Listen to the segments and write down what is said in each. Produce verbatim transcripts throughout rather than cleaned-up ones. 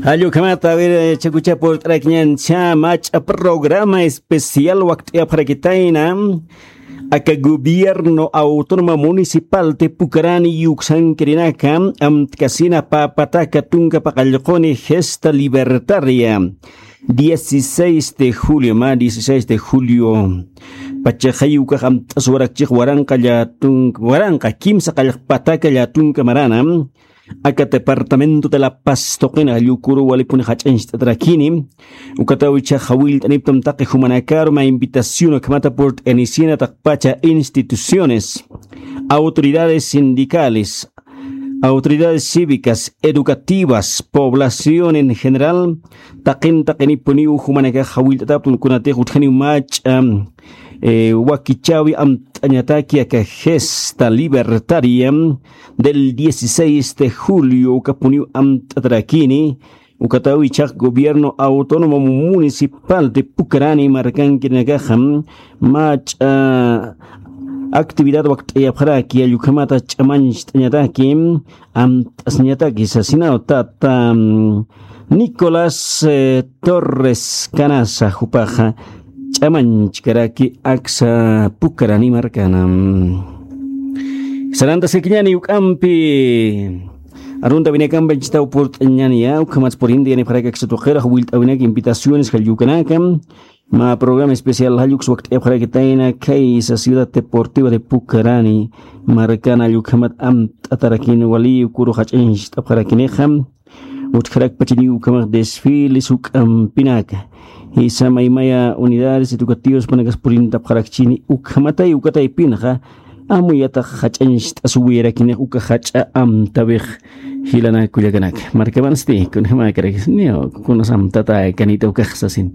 Jallukhamata, a ver, chakucha purt'arakiñan cha mach'a programa especial wakt'ayapxarakitayna aka gobierno autónomo municipal de Pucarani yuksankirinaka amtkasina papataka tunka paqallquni gesta libertaria dieciséis de julio, ma dieciséis de julio pachaxa yukax amt'as warakchix waranqa llatunka waranqa kimsa qallqpataka llatunka marana aka departamento de La Paz tuqina llukuru walipuni jach'ancht'atarakini. Ukataw ichaxa willt'aniptam taqi jumanakaru mä invitación ukhamata purt'anisina taqpacha instituciones, autoridades sindicales, autoridades cívicas, educativas, población en general, taqin taqinipuniw jumanakaxa willt'ataptun kunatix utjaniw mach'a eh, wakichawi amt'añataki aka gesta libertaria del dieciséis de julio ukapuniw amt'atarakini. Ukatawi chax gobierno autónomo municipal de Pucarani markankirinakaxa mach'a actividad wakt'ayapxaraki allukhamata ch'amañcht'añataki amt'asñataki sasinaw tata Nicolás eh, Torres Canasa jupaxa ch'amañchkaraki aksa Pucarani markana. Sarantaskakiñani uk'ampi arunta winakampa chitaw purt'añani ya ukhamatsa purinti yanipxaraki aksa tuqirax willt'awinak invitaciones jallukanaka mä programa especial jalluks wakt'ayapxarakitayna khaysa ciudad deportiva de Pucarani markana allukhamat amt'atarakini wali ukuru jach'ancht'apxarakinixa. Utjarakpachiniw ukhamax desfiles juk'ampinaka jisa maymaya unidades educativas panakas purintapxarakchini ukhamatay ukataypinxa amuyatax jach'ancht'asuwirakinix uka jach'a amtawix. Jilanak kullakanaka markamansti kunjämäkarakis niw kunas amtata kanita ukax sasin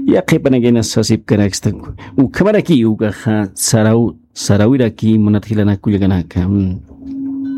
yaqhipanakina sasipkanaksta. Ukhamaraki ukaxa saraw sarawiraki munat jilanak kullakanaka.